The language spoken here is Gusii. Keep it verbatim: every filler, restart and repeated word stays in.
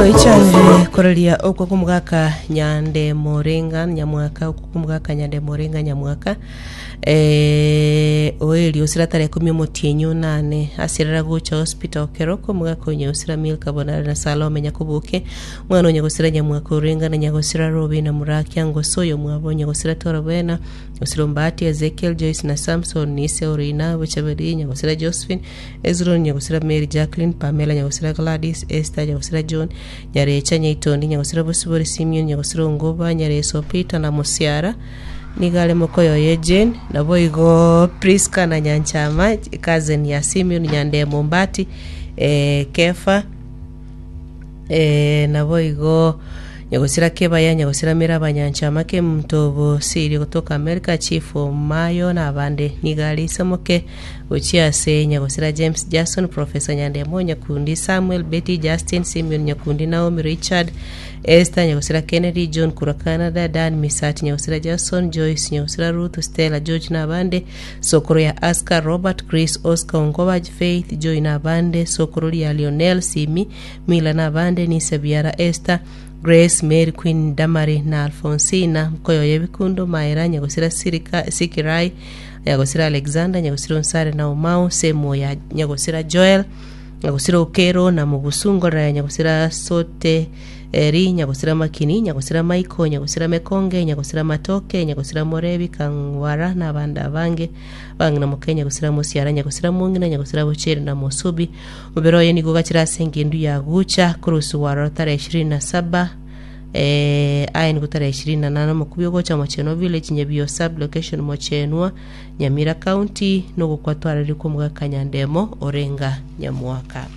Toichanire koreria okwo kumugaka Nyande Morenga Nyamwaka, okwo kumugaka Nyande Morenga Nyamwaka, eh, oeri osira tarehe ikumi omotienyi onane asirera gocha hospital Keroko. Omogaka onye osira Milka Bonare na Salome Nyakoboke, omwana onye gosira Nyamwaka Orenga na Nyagosira Robina Murakia Ngoso, oyo mwabo onye gosira Torobena Gosira Ombati Ezekiel Joyce na Samson Nise Orina Bochaberi Nyagosira Josephine Ezron Nyagosira Mary Jacqueline Pamela Nyagosira Gladys Esther Nyagosira John Nyarecha Nyaitondi Nyagosira Bosibori Simeon Nyagosira Ongoba Nyareso Peter na Musiara nigo are mokoyoye Jane, naboigo Priska na Nyanchama cousin ya Simeon Nyandemo Mbati, eh, Kefa, eh, naboigo Nyagosira Kebaya Nyagosira Miraba Nyanchama Kemunto Bosiri gotoka America Chief Mayo na abande. Nigo are isomoke gochia ase Nyagosira James Jackson Professor Nyandemo Nyakundi Samuel Betty Justin Simeon Nyakundi Naomi Richard Esther Nyagosira Kennedy John Kura Canada Dan Misati Nyagosira Jason Joyce Nyagosira Ruth Stella George na abande. Sokoro ya Oscar Robert Chris Oscar Ongoba Faith Joy na abande. Sokoro ya Lionel Simi Mila na abande. Nisebiara Esther Grace Mary Queen Damari na Alfonsina Mkoyoye Bikundo Maera Nyagosira Sirika Sikirai Nyagosira Alexander Nyagosira Onsare na Omau Semo ya Nyagosira Joel Nyagosira Okero na Mugusungo ya Nyagosira Sote Eri Nyagosira Makini Nyagosira Maiko Nyagosira Mekonge Nyagosira Matoke Nyagosira Morebi Kangwara na abandi abange bang'ina moke Nyagosira Musiara Nyagosira Mung'ina Nyagosira Bochere na Mosubi. Mubere oye nigo gachira ase engendu ya gucha kurusu warora tarehe ishirini na saba, eh, aya nigo tarehe ishirini na nane omokubi ogocha Mochenwa village Nyabio sub location Mochenwa Nyamira county nogokwa twarari kwa omogaka Nyandemo Orenga Nyamwaka.